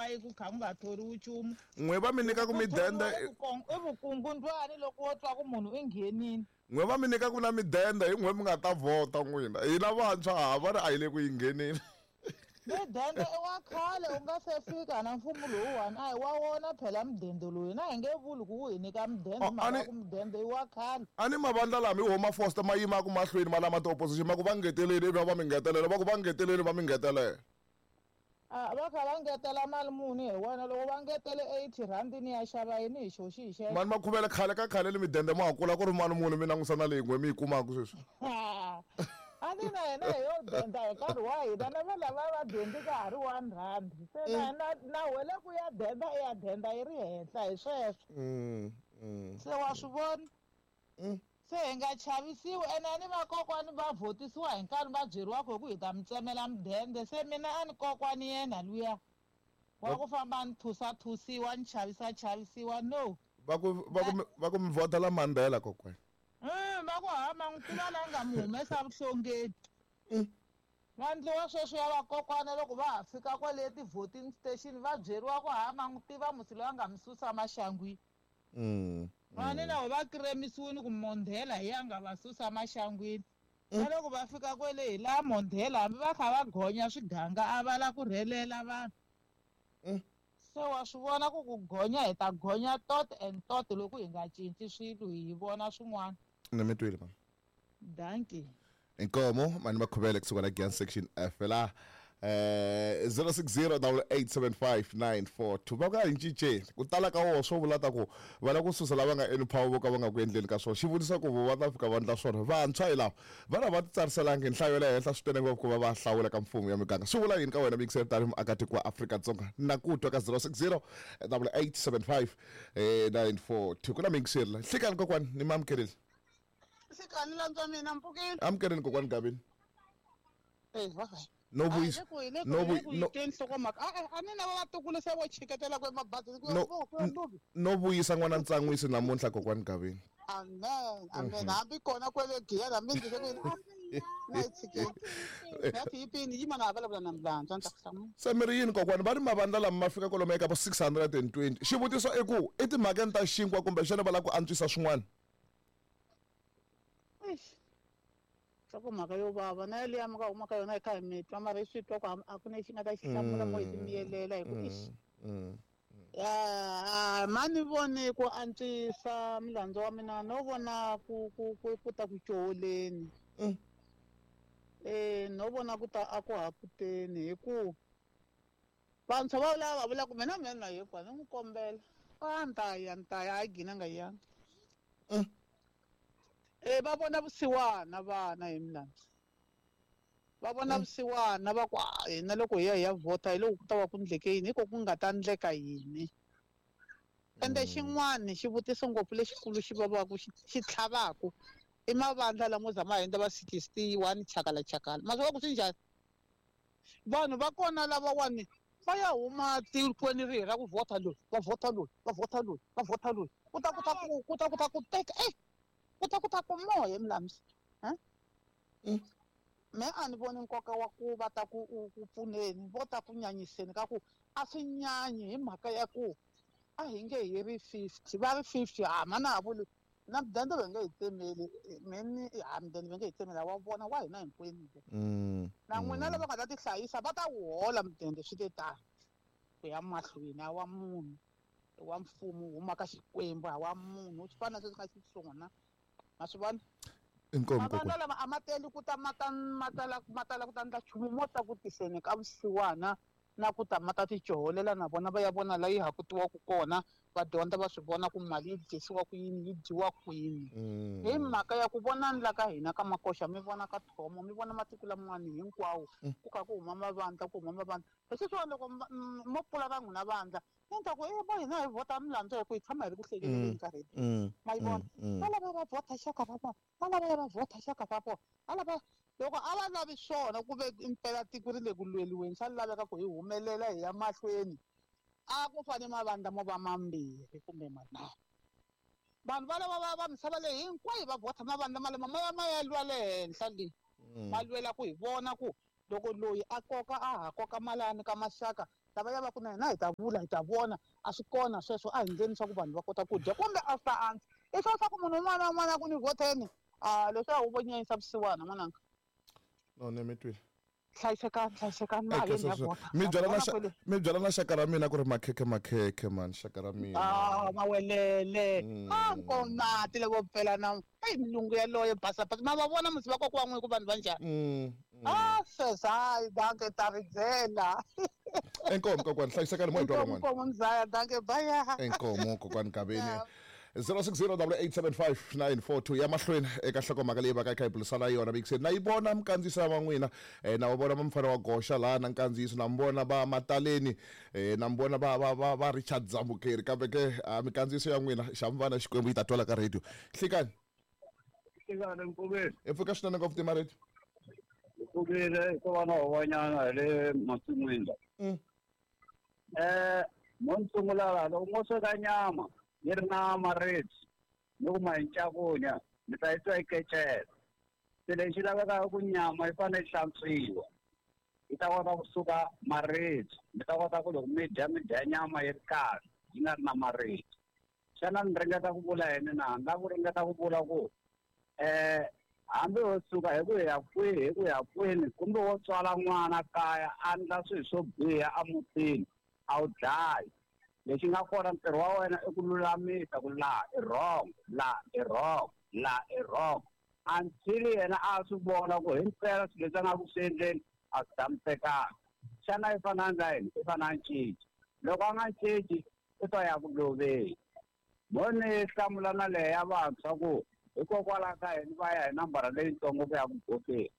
yi ku kha ku nga thoriwi nchumu. N'we va mi nyika ku midende I vukungundwani loko wo twa ku munhu i nghenini. N'we va mi nyika ku na midende hi n'we mi nga ta vhota n'wina. Hina vantshwa ha va ri a hi le ku yi ngheneni. Midende i wa khale u nga se fika na mfumo lowuwani a hi wa wona phela mudende lowu hina hi nge vuli ku wu hi nyika mudende mhaka ku mudende i wa khale. A ni mavandla lama hi wo ma Foster ma yimaka mahlweni ma lama ti-opposition ma ku va ngeteleli ivi va mi ngetelela va ku va ngeteleli va mi ngetelela. A va kha va ngetela mali muni hi wena loko va ngetele 80 rhandi ni ya xava yini hi xo xi hi xexo. Mani Makhuvele khale ka khale le midende ma ha kula ku ri mali muni mi langusa na leyi n'we mi yi kumaka sweswi. A ni na hina hi yo denda hi nkarhi wa hina na va lava va dendi ka ha ri 1 rand se na na na wele ku ya denda i ya denda yi ri henhla hi sweswo. Se wa swi vona. Se hi nga chavisiwi ene a ni vakokwani va vhotisiwa hi nkarhi va byeriwa ku hi ku hi ta mi tsemela mudende se mina a ni kokwani yena luya wa ku famba ni thusathusiwa ni chavisachavisiwa no. Va ku va ku va ku mi vhotela Mandela kokwani. Va ku ha ma n'wi tiva la nga mi humesa vuhlongeni. Va ndliwa sweswo ya vakokwana loko va ha fika kwale ti-voting station va byeriwa ku ha ma n'wi tiva musi loyi a nga mi susa maxangwini. Vani na va kiremisiwini ku Mondela hi ya nga va susa maxangwini. Na loko va fika kwele hi laha Mondela hambi va kha va gonya swiganga a va la ku rhelela vanhu. Se wa swi vona ku ku gonya hi ta gonya tot and tot loko hi nga cinci swilo hi vona swin'wana. Ni mi twile mama. Dankie. Inkomo mani Makhuvele kusuka la Giyani section F la 0608875942 va ku a hi cinceni ku tala ka woho swo vula ta ku va lava ku susa lava nga eni power vo ka va nga ku endleni ka swona xivutiso ku vo va ta fika va endla swona vantshwa hi lava va na va titsariselangi hi nhlayo ya le henhla swinene ngopfu ku va va hlawula ka mfumo ya miganga swi vula yini ka wena miyingiseri tanihi muakatiko wa Afrika-Dzonga na ku twa ka 06088759 942 ku na miyingiseri la nhlikani kokwani ni mi amukerile. Nhlikani lantswa mina mpfukile. Amukeleni kokwani Gavini. Eh, va No vuyisa. No no nhlokomhaka. A ni na vatukulu se vo chiketela ku emabazini ku no vuyisa n'wana ntsan'wisi namuntlha kokwani Gavini. Amen. Amen. Hambi kona kwele Giyani hambi ndzi ku na yi tshikeni. Ngathi yipini yima na vulavula na mlandzwa ni ta ku hlamula. Se mi ri yini kokwani va ri mavandla lama ma fika kwalomu eka vo 620. Xivutiso i ku i timhakeni ta xinkwa kumbexana va lava ku antswisa swin'wana? Eish. Nhlokomhaka yo vava na yaliya mi nga huma ka yona hi kha hi mi twa mara hi swi twa ku a ku na lexi nga ta xi hlamula mo hi ti miyelela hi ku eish. Ya ma ni vone ku antswisa milandzu wa mina no vona ku ku ku ku ta ku coholeni. No vona ku ta a ku hakuteni hi ku vantshwa va lava va vula ku mina mina na yekwa ni n'wi kombela a ni ta ya ni ta ya a gina nga yanga. Va vona vusiwana vana hi milandzu. Va vona vusiwana va ku hina loko hi ya hi ya vhota hi loko ku ta va ku ndleke yini hi ko ku nga ta ndleka yini. Ende xin'wani xivutiso ngopfu lexikulu xi vavaku xi tlhavaku i mavandla lamo za ma hundza va 61 chakala chakala. Ma swi vona ku swi njhani? Vanhu va kona lavawani va ya huma tikweni rihi ra ku vhota loyi va vhota loyi va vhota loyi va vhota loyi ku ta ku ta ku ku ta ku ta ku teka ku ta ku ta ku moya milamsi. Me a ni voni nkoka wa ku va ta ku ku pfuneni vo ta ku nyanyiseni ka ku a swi nyanyi hi mhaka ya ku a hi nge hi ri 50 va ri 50 ha mana ha vuli na mudende va nge hi tsemeli meni ha mudende va nge hi tsemeli wa vona wa hina hinkwenu. Na n'wina lava nga ta tihlayisa va ta wu hola mudende swi te tano ku ya mahlweni a wa munhu wa mfumo huma ka Xikwembu a wa munhu swi fana na sweswi nga xiswona ma swi vona. Mavandla lama a ma teli ku ta ma ta ma tala ma tala ku ta ndla nchumu mo ta ku tiseni ka vusiwana na ku ta ma ta ticoholela na vona va ya vona la yi hakutiwaka kona va dyondza va swi vona ku mali yi dyisiwa ku yini yi dyiwa kwini. Hi mhaka ya ku vonani la ka hina ka makoxa mi vona ka Thomo mi vona matiko laman'wana hinkwawo ku kha ku huma mavandla ku huma mavandla hi sweswiwani loko mo pfula va n'wina vandla ni ta ku bo hina hi vhota milandzu hi ku hi tshama hi ri ku hlekeleleni nkarhi ma yi vona va lava va vhota xaka va vona va lava va vhota xaka va vona va lava loko a va lavi swona ku ve impela tiko ri le ku lweliweni swa laveka ku hi humelela hi ya mahlweni a ku fane mavandla mo va mambirhi kumbe manharhu. Vanhu va lava va misava leyi hinkwayo va vhota mavandla malama ma ya ma ya lwa le henhla le ma lwela ku hi vona ku loko loyi a koka a ha koka malani ka maxaka Lavaya va ku na hina hi ta vula hi ta vona a swi kona sweswo a hi ndleni swa ku vanhu va kota ku dya kumbe a swi ta antswa i swa ku munhu un'wana na un'wana a ku ni vhoteni a leswiya wu vo nyanyisa vusiwana n'wananga. No ni mi twile. Hlayisekani hlayisekani ma yeni ya vhota. Mi byela na mi byela na xaka ra mina ku ri makhekhe makhekhe man xaka ra mina. Ah mawelele. Ah nkomati loko pfela na eyi milungu yaloye basa basa ma va vona musi va kokwa n'wi ku vanhu va njhani. Ah sweswo hayi danke ta ri byela. Inkomu kokwani hlayisekani mo hi twa van'wana. Inkomu mzaya danke bye. Inkomu kokwani Gaveni. 0608875942 ya mahlweni eka nhlokomhaka leyi vaka yi kha yi burisana yona mikiseni na yi vona minkandziyiso ya van'wina na va vona va mufana wa goxa laha na nkandziyiso na mi vona va mataleni na mi vona va va va va Richard Zambukeri kambe ke minkandziyiso ya n'wina xa mi vana Xikwembu yi ta twala ka radio. Nhlikani. Nhlikani Nkoveni. Hi pfuka swinene ngopfu tima radio. Hi pfukile hi ko va na huwanyana hi le masin'wini la. Mo ni sungula laha loko mo sweka nyama yi ri na maribye ni ku ma yi ncakunya mi ta yi twa yi kecela. Se lexi lavekaka ku nyama yi fanele yi hlantswiwa yi ta kota kusuka maribye mi ta kota ku loko mi dya mi dya nyama yi ri kahle yi nga ri na maribye. Xana ni ringeta ku vula yini na? Ni lava ku ringeta ku vula ku hambi wo suka hi ku ya kwihi hi ku ya kwini kumbe wo tswala n'wana kaya a endla swilo swo biha emutini a wu dlayi. Lexi nga kona ntirho wa wena i ku lulamisa ku laha i wrong, laha i wrong, laha i wrong until yena a swi vona ku himpela swilo leswi a nga ku swi endleni a swi tshamisekanga. Xana i fanele a endla yini? I fanele a cinca. Loko a nga cinci u ta ya ku loveni. Mo ni hlamula na leya ya vantshwa ku hikokwalaho ka yini va ya hi nambara leyitsongo ku ya ku vhoteni.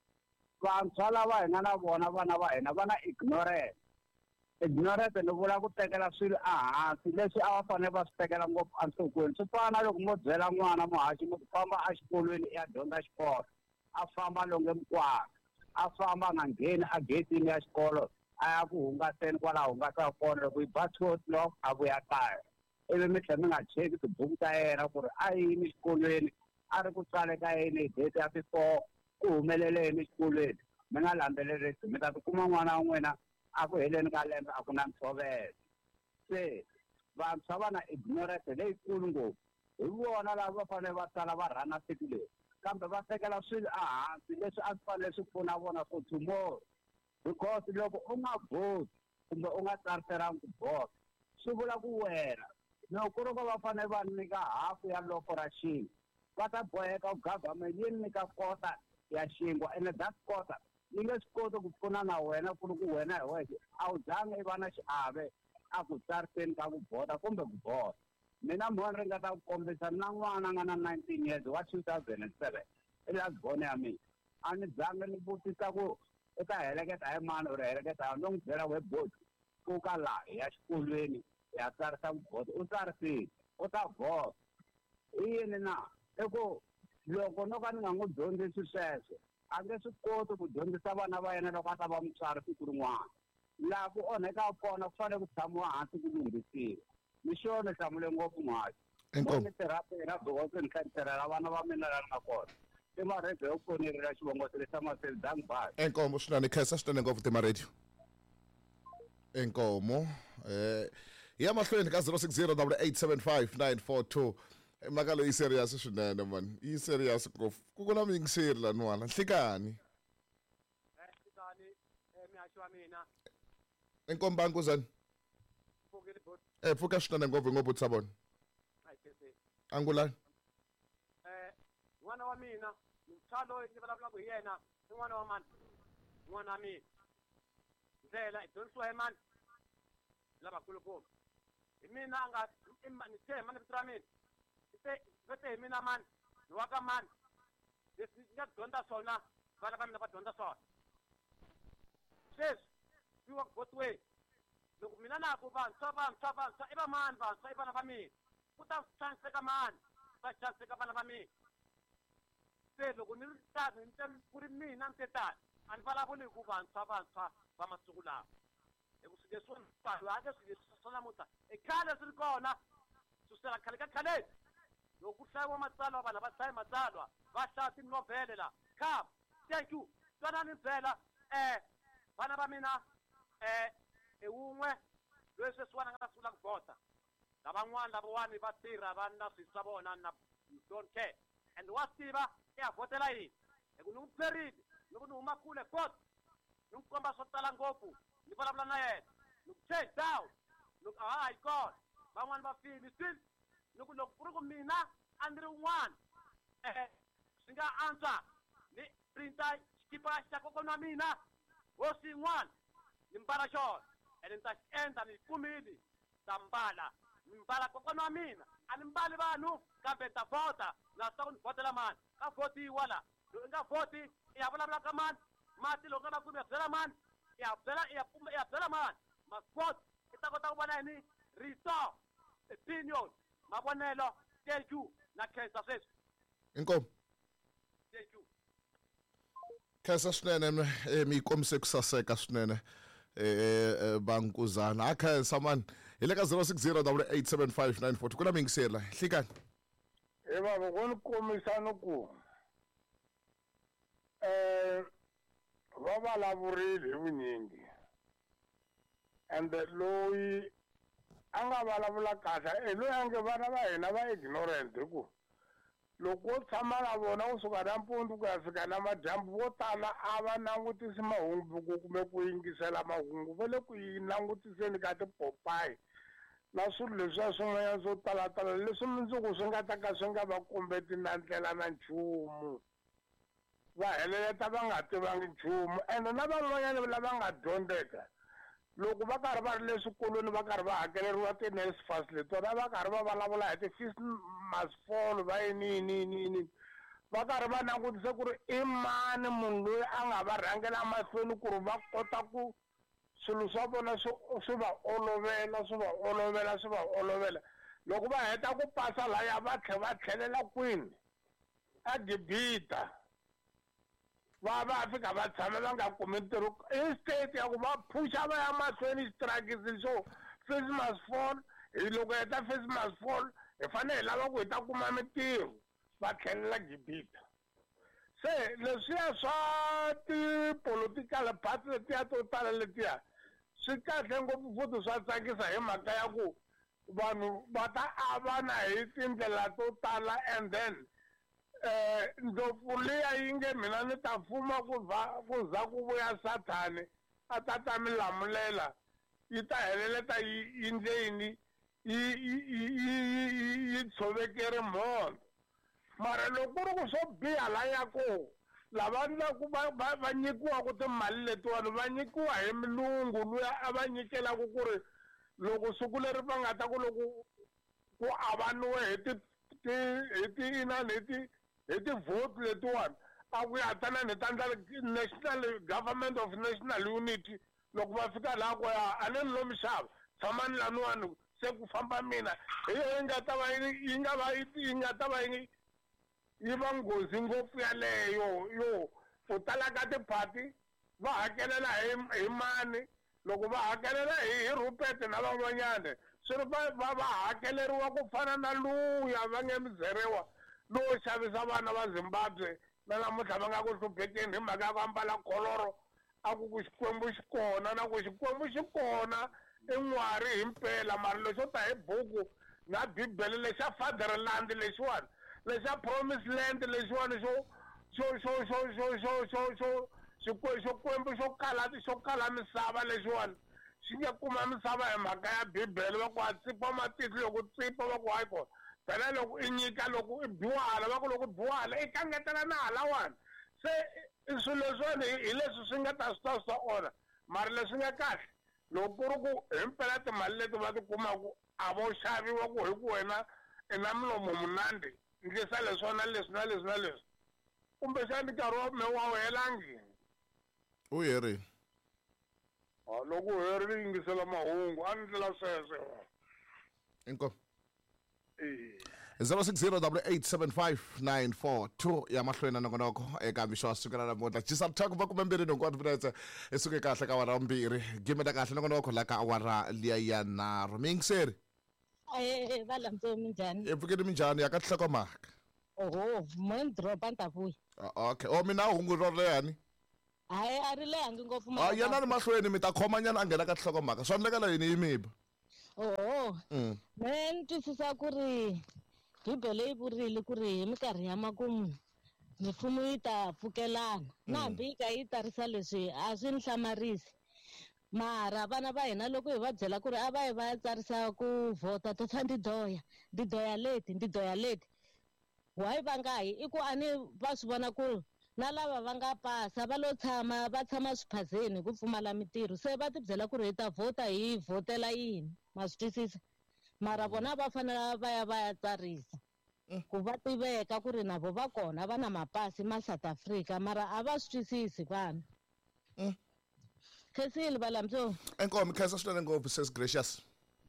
Vantshwa lava hi nga na vona vana va hina va na ignorance. Ignorance ni vula ku tekela swilo ehansi leswi a va fanele va swi tekela ngopfu enhlokweni. Swi fana na loko mo byela n'wana muhaxi mi ku famba exikolweni i ya dyondza xikolo, a famba longe mikwala, a famba a nga ngheni egedeni ya xikolo a ya ku hungaseni kwalaho hungasaka kona loko yi ba 2 o'clock a vuya kaya. Ivi mi tlhela mi nga cheki tibuku ta yena ku ri a yini xikolweni a ri ku tsale ka yini hi date ya ti-4 ku humelele yini exikolweni mi nga landzelerisi mi ta tikuma n'wana wa n'wina a ku heleni ka lembe a ku na ntshovelo. Se vantshwa va na ignorance leyikulu ngopfu hi vona lava va fanele va sala va rhana siku leri kambe va tekela swilo ehansi leswi a swi fanele swi pfuna vona for tomorrow because loko u nga vhoti kumbe u nga tsariselanga ku vhota swi vula ku wena loko ku ri ku va fanele va nyika hafu ya loko ra xinkwa va ta boheka ku government yi nyika kota ya xinkwa ene that kota yi nge swi koti ku pfuna na wena ku ri ku wena hi wexe a wu zangi i va na xiave a ku tsariseni ka ku vhota kumbe ku vhota. Mina mo ni ringeta ku kombisa na n'wana a nga na 19 years wa 2007 i last born ya mina a ni zangi ni vutisa ku u ta heleketa hi mani or heleketa hi no n'wi byela we boti pfuka laha hi ya xikolweni hi ya tsarisa ku vhota u tsarisile u ta vhota. I yini na? I ku loko no ka ni nga n'wi dyondzisi sweswo a nge swi koti ku dyondzisa vana va yena loko a ta va mutswari siku rin'wana. Laha ku onhekaka kona ku fanele ku tshamiwa hansi ku lunghisiwa. Ni xo ni hlamule ngopfu muhaxi. Inkomu. Ni tirha tirha because ni tlhela ni tirhela vana va mina laha ni nga kona. I marhebye yo pfunirila xivongo tirhisa maseli dank bye. Inkomu swinene khensa swinene ngopfu tima radio. Inkomu ya mahlweni ka 0608875942 mhaka leyi serious swinene man yi serious ngopfu ku ku na muyingiseri laniwana. Nhlikani. Nhlikani mihaxi wa mina. Inkomu Bankuzani. Pfuka swinene ngopfu ngopfu tsa vona. Angulani. N'wana wa mina muntshwa loyi ni vulavulaka hi yena i n'wana wa mani? N'wana wa mina. Ndlela i dyondzisiwa hi mani? Lavakulukumba. Hi mina a nga ni te hi mani vito ra mina? Va te hi mina mani? Ni wa ka mani? Leswi ni nga dyondza swona vana va mina va dyondza swona. Sweswi swi work both way. Loko mina na ku vantshwa vantshwa vantshwa i va mani vantshwa i vana va mina ku ta xaniseka mani va xaniseka vana va mina. Se loko ni ri tano ni ku ri mina ni te tani a ni vulavuli hi ku vantshwa vantshwa va masiku lawa hi ku swilo leswi vanhu a nge swilo leswi swa namuntlha i khale swi ri kona susela khale ka khaleni loko ku hlayiwa matsalwa vanhu va hlayi matsalwa va hlaya tinovhele la kham thank you twanani byela vana va mina i wun'we Loyi sweswiwani a nga ta sungula ku vhota. Lavan'wana lavawani va tirha va na swilo swa vona na don't care. And wa swi tiva i ya vhotela yini. Hi ku ni n'wi byerile ni ku ni huma kule court ni n'wi komba swo tala ngopfu ni vulavula na yena ni ku change down ni ku a ha yi kona van'wani va file still ni ku loko ku ri ku mina a ni ri un'wana swi nga antswa ni printa xikipa xa kokwana wa mina hosi yin'wana ni mbala xona ene ni ta xi endla ni yi kumile ta mbala ni mbala kokwana wa mina a ni mbali vanhu kambe ni ta vhota na swi tiva ku ni vhotela mani ka vhotiwa la loko i nga vhoti i ya vulavula ka mani mati loko nga va kumi ya byela mani i ya byela i ya i ya byela mani must vote i ta kota ku vona yini rito opinion mavonelo thank you na khensa sweswi. Inkomu. Thank you. Khensa swinene mi yi kombise ku saseka swinene vankuzana a khensa mani hi le ka 060 8875942 ku na miyingiseri la hlikani. He baba ko ni kombisa ni ku va vulavurile hi vunyingi ende loyi a nga vulavula kahle i loyi a nge vana va hina va ignorant hi ku loko wo tshama na vona kusuka nampundzu ku ya fika namadyambu vo tala a va langutisi mahungu kumbe ku yingisela mahungu va le ku yi langutiseni ka tipopayi na swilo leswiya swin'wanyana swo talatala leswi mundzuku swi nga ta ka swi nga va kombeti na ndlela na nchumu va heleleta va nga tivangi nchumu ene na van'wanyana lava nga dyondzeka loko va karhi va ri le swikolweni va karhi va hakeleriwa ti-NSFAS letona va karhi va vulavula hi ti-fees must fall va yini yini yini yini va karhi va langutise ku ri i mani munhu loyi a nga va rhangela mahlweni ku ri va kota ku swilo swa vona swi swi va olovela swi va olovela swi va olovela loko va heta ku pasa laya va tlhe va tlhelela kwini a Gibita va va fika va tshama va nga kumi ntirho instead ya ku va phusha va ya mahlweni xitirakisi xo fees must fall hi loko heta fees must fall hi fanele hi lava ku hi ta kuma mintirho va tlhelela Gibita se leswiya swa ti-political party letiya to tala letiya swi kahle ngopfu futhi swa tsakisa hi mhaka ya ku vanhu va ta avana hi tindlela to tala and then ndlopfu liya yi nge mina ni ta fuma ku va ku za ku vuya sathani a ta ta mi lamulela yi ta heleleta yi yi ndle yini yi yi yi yi tshovekeri mhondzo mara loko ku ri ku swo biha laya ko lava ndlaku va va va nyikiwaku timali letiwani va nyikiwa hi mulungu luya a va nyikelaku ku ri loko siku leri va nga ta ku loko ku avaniwe hi ti ti hi ti inani hi ti hi ti-vote letiwani a ku ya tanani hi ta ndla national government of national unity loko va fika laha ku ya a ni ni lo mi xava tshamani laniwani se ku famba mina hi yo yi nga ta va yi nga va yi nga ta va yi yi va nghozi ngopfu yaleyo yo ku tala ka tiphati va hakelela hi hi mani loko va hakelela hi hi Rupert na van'wanyana swi ri va va va hakeleriwa ku fana na luya va nge muzeriwa lowo xavisa vana va Zimbabwe na namuntlha va nga ku hluphekeni hi mhaka ya ku ambala kholoro a ku ku Xikwembu xi kona na ku Xikwembu xi kona i n'wari himpela mara lexo ta hi buku na bibele lexa fatherland lexiwani lexa promise land lexiwani xo xo xo xo xo xo xo xo Xikwembu xo kala xo kala misava lexiwani xi nge kuma misava hi mhaka ya bibele va ku a tsipa matihlo loko tsipa va ku hayi kona phela loko i nyika loko i biwa hala va ku loko biwa hala i kangetela na halawani se i swilo leswiwani hi leswi swi nga ta swi ta swi ta onha mara leswi nga kahle loko ku ri ku himpela timali leti va ti kumaku a vo xaviwa ku hi ku wena i na milomo munandi ndlisa leswi na leswi na leswi na leswi kumbexani nkarhi wa me wa wu helangi u herile loko u herile yingisela mahungu a ni ndlela sweswo inkomu 0608875942 ya mahlweni na nongonoko eka mixo wa siku ra namuntlha jisa mthako va kume mbirhi nhungu wa timinetse i suke kahle ka awara mbirhi gimeta kahle nongonoko la ka awara liya ya nharhu miyingiseri va landzo minjhani i pfukeni minjhani ya ka tinhlokomhaka oho mo ni dropa ni ta vuya okay o mina hungu ro lehani hayi a ri lehangi ngopfu yanani mahlweni mi ta khomanyana a nghena ka tinhlokomhaka swa endlekela yini yi miba. Oho. Me ni twisisa ku ri Bibele yi vurile ku ri hi minkarhi ya makumu mifumo yi ta pfukelana. Na hambi yi ka yi tarisa leswi a swi ni hlamarisi. Mara vana va hina loko hi va byela ku ri a va yi va ya tsarisa ku vhota to fa ndidoya, ndidoya leti, ndidoya leti. Why va nga yi? I ku a ni va swi vona ku na lava va nga pasa va lo tshama va tshama swiphazeni hi ku pfumala mintirho, se va ti byela ku ri hi ta vhota hi vhotela yini, ma swi twisisa? Mara vona va fanele va ya va ya tsarisa ku va tiveka ku ri na vo va kona va na mapasi ma South Africa, mara a va swi twisisi vana. Khensile valamtso. Inkomo khensa swinene ngopfu sis Gracious.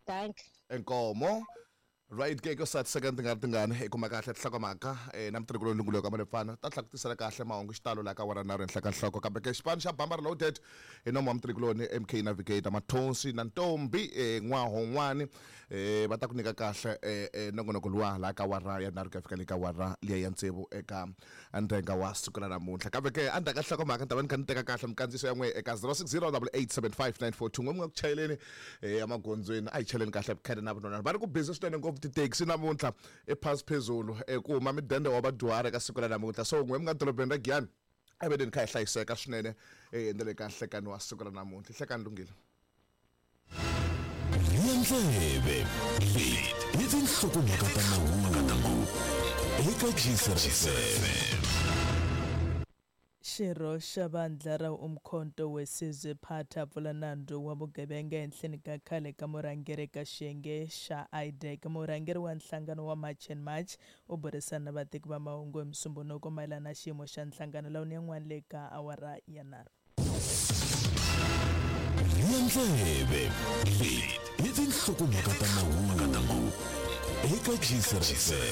Thank. Inkomo. Right ke ko sat second tingani tingani i kuma kahle tinhlokomhaka na mutirhi lungulo ka malefana ta tlhela ku tisela kahle mahungu xitalo laha ka wara nharhu henhla ka nhloko kambe ke xipano xa Bamba Reloaded hi nomo wa mutirhikuloni MK Navigator Mathonsi na Ntombi N'wahon'wani va ta ku nyika kahle nongonoko luwa laha ka wara ya nharhu ku ya fika le ka wara liya ya tsevu eka ndhenga wa siku ra namuntlha kambe ke endzhaku ka nhlokomhaka ni ta va ni kha ni teka kahle minkandziyiso ya n'we eka 0608875942 n'we mi nga ku chayeleni emagondzweni a hi chaleni kahle vukhele na vunonana va ri ku busy swinene ngopfu tithekisi namuntlha ephasi phezulu ku huma midende wa vadyuhari eka siku ra namuntlha so n'we mi nga dorobeni ra Giyani a ve ni kha hi hlayiseka swinene na le ka nhlekani wa siku ra namuntlha nhlekani lunghile. Rhiya ndleve leti i tinhlokomhaka ta mahungu eka GCR FM. Xirho xa vandla ra Umkhonto weSizwe Party a pfula nandzu wa vugevenga ehenhleni ka khale ka murhangeri eka xiyenge xa IDAC. Murhangeri wa nhlangano wa March and March u burisana na vateki va mahungu hi Musumbhunuko mayelana na xiyimo xa nhlangano lowu ni yan'wana le ka awara ya nharhu. Rhiya ndleve leti i tinhlokomhaka ta mahungu eka GCR FM.